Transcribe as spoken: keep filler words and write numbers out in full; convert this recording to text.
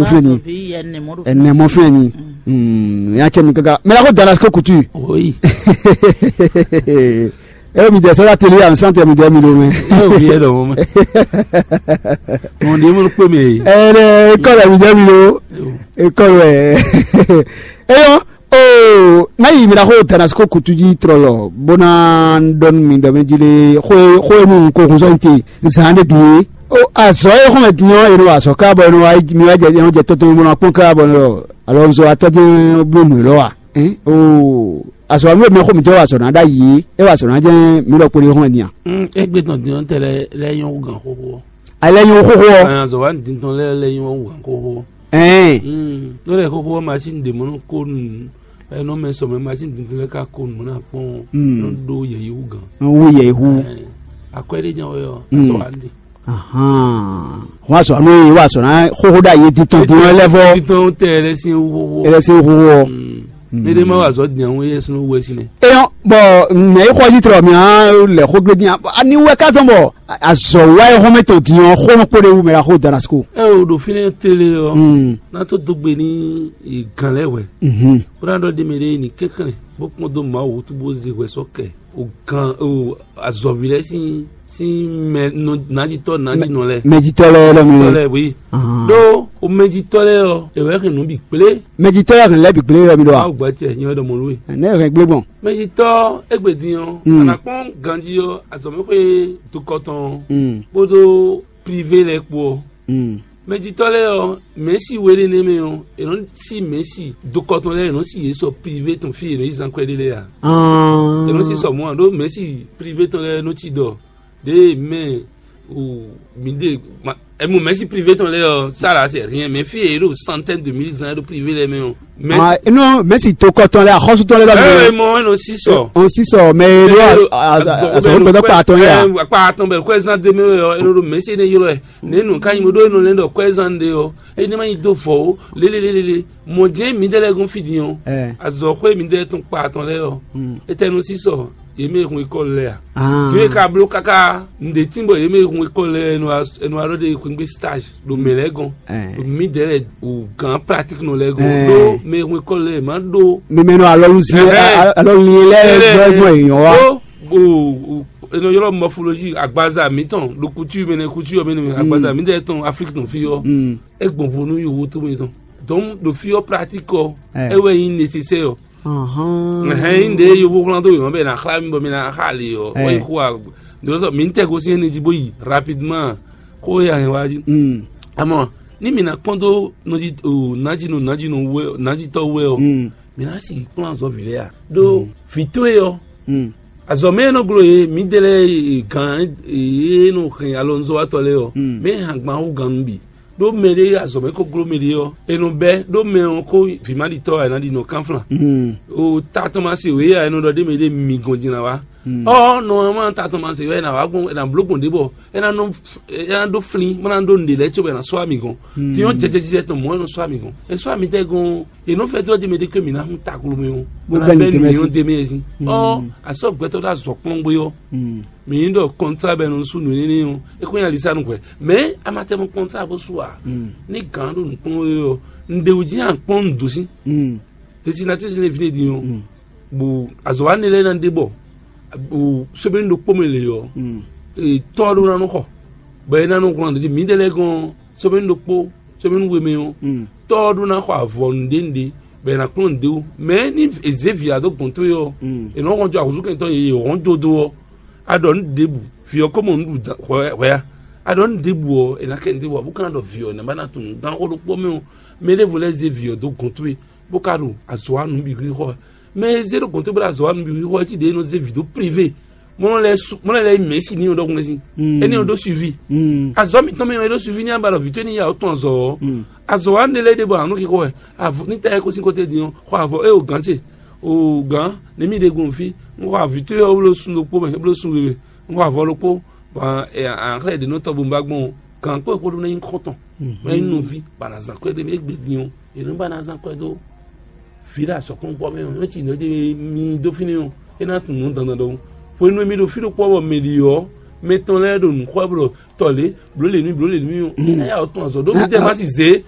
Fɛn ni. Ɛnɛ mɔ fɛn ni. Ya cɛ mi kaka mɛ la ko Damasco kutu. Oui. E mi dɛ sɛbɛ teli ya mi santɛ mi dɛ mi lo mɛ. Yóò fi yɛ dɔ mɔ mɛ. Mɔ ní mo kpé mi. Ɛnɛ ekɔlɔ mi dɛ mi lo. Ekɔlɔ ɛ. Eyɔ. Oo, na yi mǐ ná xo Damasiko kutu jí tlɔlɔ, bó ná ɖɔ nú mi ɖɔ mɛ jí lé xó e xó e nú un ko hun sɔ́ nyi te zǎn ɖé bǐ é. Ó azɔ̌ e xɔ́n mɛ din ɔ́, è nɔ wa azɔ̌ ká bɔ è nɔ wa mi wá jɛ è nɔ jɛ tɔn tɔn bó ná kpɔ́n ká bɔ alɔ un zɔ atɔ́ jɛ́n bló nǔ élɔ́ a? Ɛn oo, azɔ̌ wa nú e mɛ xó mǐtɔn wa azɔ̌ ná ɖ'ayǐ é, é wa azɔ̌ ná jɛ́n mǐ ɖɔ kpo ɖé xɔ́n mɛ din a? Égbé tɔn din ɔ́ tɛ lɛ́ lɛ́ nyɔ́ hú gǎn xóxó ɔ́. A lɛ́ nyɔ́ hú xóxó ɔ́. Azɔ̌ wa din tɔn lɛ́ lɛ́ nyɔ́ hú gǎn xóxó ɔ́. Ɛn. Ló lɛ xóxó ɔ́, masín ɖě mɔ nɔ kó nu. Ɛnɔ mɛ sɔ mɛ masín dindin lɛ́ɛ ka ko nǔ ná kpɔ́n nɔ ɖó yɛ̌yi wú gǎn. Nɔ wú yɛ̌yi wú. Akwɛ́ ɖé jɛ́n wɛ ɔ́, azɔ wa ɖe. Ahan. Wọ́n á sɔ̀rọ̀ nú yìí, wọ́n á sɔ̀rọ̀ náà xóxó dá yé titɔn dín ɔ́ lɛ́ fɔ. Titɔn tɛ ɛlɛ sín wú xóxó. Ɛlɛ sín wú xóxó. Mɛ ɖé má wà zɔ dìnyàwó yɛ sínú wɛ sílẹ̀. Eyɔn, bɔn mɛ yi xɔ yi tlɔ mi hã lɛ xó gbé dín. Ani wɛ ká zɔn bɔ azɔ wa yi xɔmɛ tɔn dín ɔ́ xó nɔ kpó ɖe wú mɛ la xó Damasiko. Ɛ o ɖo fínɛ́ télé ɔ́, ná tó dó gbe ní gǎn lɛ́ɛ wɛ. Bó ná ɖɔ ɖ'é mɛ ɖé ní kɛnklɛ́n bó kpɔ́n dó Mawu wútu bó zé hwɛ sɔ́ kɛ o gǎn o azɔ̌ví lɛ́ɛ sín sín mɛ nɔ- nǎjitɔ́ nǎjinɔ lɛ́ɛ. Mɛjitɔ́ lɛ́ɛ lɔ mi Mɛjitɔ́ lɛ́ɛ, oui. Ɖó o mɛjitɔ́ lɛ́ɛ ɔ́, è wɛ hɛn nǔ bǐ kplé. Mɛjitɔ́ lɛ́ɛ hɛn lɛ́ɛ bǐ kplé wɛ mi ɖɔ a? Awu gbɛtɛ nyɛ wɛ ɖɔ mɔ nú we. Nɛ hɛn gblé gbɔn. Mɛjitɔ́ égbé din ɔ́, a nǎ kpɔ́n ganjí ɔ́, azɔ̌mɛxwé dukɔtɔn ɔ́, kpódó privé lɛ́ɛ kpó ɔ́. Mɛjitɔ́ lɛ́ɛ ɔ́, mɛ̌si we ɖé nɛ́ mɛ ɔ́, è nɔ sí mɛ̌si dokɔtɔn lɛ́ɛ, è nɔ sí yě sɔ privé tɔn fí è nɔ yí zán kwɛ́ ɖé lɛ́ɛ ǎ. È nɔ sí sɔ mɔ̌ ǎ, ɖó mɛ̌si privé tɔn lɛ́ɛ nɔ cí ɖɔ ɖěe mɛ o mǐ ɖe ma- ɛ mɔ mɛ̌si privé tɔn lɛ́ɛ ɔ́, ça là c'est rien, mais fí e yě ɖo centaine de mille zán ɖo privé lɛ́ɛ mɛ ɔ́, mɛ̌si Ah, non, mɛ̌si tokɔtɔn lɛ́ɛ, axɔ́sútɔn lɛ́ɛ lɔ ɔn sísɔ. Ɔn sísɔ mɛ e ɖó azɔ̌ gbɛtɔ́ kpa atɔn yá. Kpa atɔn bɛ kwɛzán de mɛ wɛ ɔ́, e nɔ ɖo mɛ̌si énɛ́ ylɔ́ ɛ. Nɛ̌ nǔ ka nyí bó ɖó e nɔ lɛ́ ɖɔ kwɛzán ɖe ɔ́, é ní ma nyí dó vɔ̌ ó, lélélélélé. Mɔ̌ jɛ́n mǐdɛɛ lɛ́ɛ gɔ́n fí din ɔ́, azɔ̌xwé mǐdɛɛ tɔn kpa atɔn lɛ́ɛ ɔ́, étɛ́ nɔ sísɔ yě mɛ e hun ekɔ́lu lɛ́ɛ a? Din e ka bló káká nǔɖé tín bɔ yě mɛ e hun ekɔ́lu lɛ́ɛ, è nɔ wá ɖɔ ɖe xwégbé stage ɖo mɛ lɛ́ɛ gɔ́n, ɖo mǐdɛɛ lɛ́ɛ o gǎn pratique nɔ lɛ́ɛ gɔ́n, ɖó mɛ e hun ekɔ́lu lɛ́ɛ má ɖó. Mimɛ nɔ alɔlu zi alɔlu lɛ gbɔ gbɔ èèyàn wa. Ɖó o o e nɔ ylɔ́ morphologie agbaza mǐtɔn ɖo couture mɛ nɛ couture mɛ nɛ agbaza mǐdɛɛ tɔn Afrique tɔn fí ɔ́, é gbɔn vo nú yovo tó mɛ tɔn. Donc ɖo fí ɔ́ pratique ɔ́, é wɛ nyí nécessaire ɔ́. Hɛn yin ɖe yovo wlán dó yǒ bɛ na xlá mi bɔ mi na xa ali ɔ wɔ yi xo a ɖo sɔ mi tɛ gosín ɛni jí bó yi rapidement kó ya hɛn wá jí. Àmọ́ ní mi na kpɔ́n dó nɔjí o nájí nɔ nájí nɔ wɛ nájí tɔ́ wɛ ɔ, mi na si kplɔ́n azɔ vǐ lɛ a ɖó vǐ towe ɔ azɔ mɛ nɔ glo ye mi dɛ lɛ gán e nɔ hɛn alɔnzɔ́watɔ lɛ ɔ mɛ hàn gbán wú gán nú bǐ. Ɖó mɛ ɖé azɔ̌ mɛ ko gló mɛ ɖé ɔ́, è nɔ bɛ́ ɖó mɛ ɔ́ kó vǐmaɖitɔ́ ǎ, è nǎ ɖi nɔ kánflán. O ta tɔn ma se wě ǎ, è nɔ ɖɔ ɖ'é mɛ ɖé mi gɔn din ná wá. Ɔ́, nɔ ma ta tɔn ma se wɛ è nǎ wá gbɔn, è nǎ bló gbɔn ɖě bɔ é ná nɔ é ná ɖó flín, bó ná ɖó nǔɖé lɛ́ɛ cóbɔ è nǎ sɔ́ wá mi gɔn. Din ɔ́, jɛjɛjijɛ tɔn mɔ̌ è nɔ sɔ́ wá mi gɔn. È sɔ́ wá mi tɛ́ gɔn, è nɔ fɛ́ dó ɔ́ ɖ'é mɛ ɖé ké mi ná hun taglomɛ ɔ́, bó ná bɛ́ nǔ mǐ ɔ́ d'é mɛ ɛ sín. Ɔ́, asɔ́ gbɛtɔ́ ɖó azɔ̌ kplɔ́n gbé ɔ́, mǐ ɖɔ kɔntrá bɔ è nɔ sú nǔ énɛ́ ɔ́, é kó nyí alisa nú hwɛ. Mɛ a ma tɛ mɔ kɔntrá bó sú a? Ní gǎn ɖo nǔkplɔ́n we ɔ́, un ɖe wǔ jí a kplɔ́n nǔ dó sín. Destinatisi ne vine din ɔ́, bo azɔ̌ wa ne lɛ́ɛ ná ɖe bɔ o sɛbɛn ɖokpó mɛ lě ɔ́, tɔ́ ɖó ná nɔ xɔ, bɔ é ná nɔ wlán ɖo jí mǐdɛɛ lɛ́ɛ gɔ́n sɛbɛn ɖokpó sɛbɛn we mɛ ɔ́, tɔ́ ɖó ná xɔ avɔ nǔɖé nǔɖé, bɔ è nǎ kplɔ́n nǔɖé wú. Mɛ ní è zě vǐ ǎ dó gɔ̌n towe ɔ́, è nɔ́ hɔn jó ahǔzúkɛntɔ́ yě yě hɔn jó dó ɔ́, a ɖɔ nǔ ɖěbǔ, vǐ ɔ́ ko mɔ nǔ ɖu hwɛ a? A ɖɔ nǔ ɖěbǔ ɔ́, è nǎ kɛ nǔ ɖěbǔ ǎ, bó ka ná ɖɔ vǐ ɔ́, è nǎ ba ná tunwun gán xó ɖokpó mɛ ɔ́, mɛ ɖěvo lɛ́ɛ zé vǐ ɔ́ dó gɔ̌n towe, bó ka ɖo azɔ̌ wa nǔ bǐ xixɔ ɛ. Mɛ e zé ɖo gɔ̌n towe bó ɖo azɔ̌ wa nǔ bǐ xixɔ ɛ, cí ɖě e nɔ zé vǐ dó privé, mɔ lɛ́ su mɔ lɛ́ lɛ́ yi mɛ̌si ní ɔ́ ɖɔhun lɛ́ɛ sín. Éní ɔ́ ɖó suivi. Azɔ̌ mǐtɔn mɛ ɔ́ é ɖó suivi ní abǎ ɖɔ vǐ towe ní ya ɔ́ tɔn azɔ̌ ɔ́. Azɔ̌ wa nú lɛ́ ɖěbǔ ǎ nú xixɔ ɛ. Avɔ ní ta ɛ kó sín kɔ́tɛ́ din ɔ́, xɔ avɔ é o gǎn ce. O gǎn, nɛ̌ mì ɖe gbɔn fí? Un xɔ vǐ towe ɔ́ bló sun ɖokpó mɛ, é bló sun we mɛ. Un xɔ avɔ ɖokpó, bɔ a xlɛ́ ɖě nɔ tɔn bo un ba gbɔn ɔ́, gǎn kpó e xó ɖó ná nyí xɔ́ntɔn, bó ná nyí nɔví, bɔ a nǎ zán kwɛ́ ɖé mɛ égbé din ɔ́, è nɔ́ ba ná zán kwɛ́ dó vǐ ɖo azɔ̌kplɔ́nkpɔ́ mɛ ɔ́, é cí nǔ ɖé mi dó fínɛ́ ɔ́, é ná tunwun nǔ dandan ɖɔhun. Hwenu e mi ɖo fí ɖokpó ɔ́ bɔ mɛ ɖi ɔ́, mɛ tɔn lɛ́ɛ ɖo nǔ xɔ wɛ bɔ ɖɔ tɔ lě, blǒ lě nú mì, blǒ lě nú mì ɔ́, é ná ya ɔ́ tɔn azɔ̌ ɖó mi tɛ má si zě.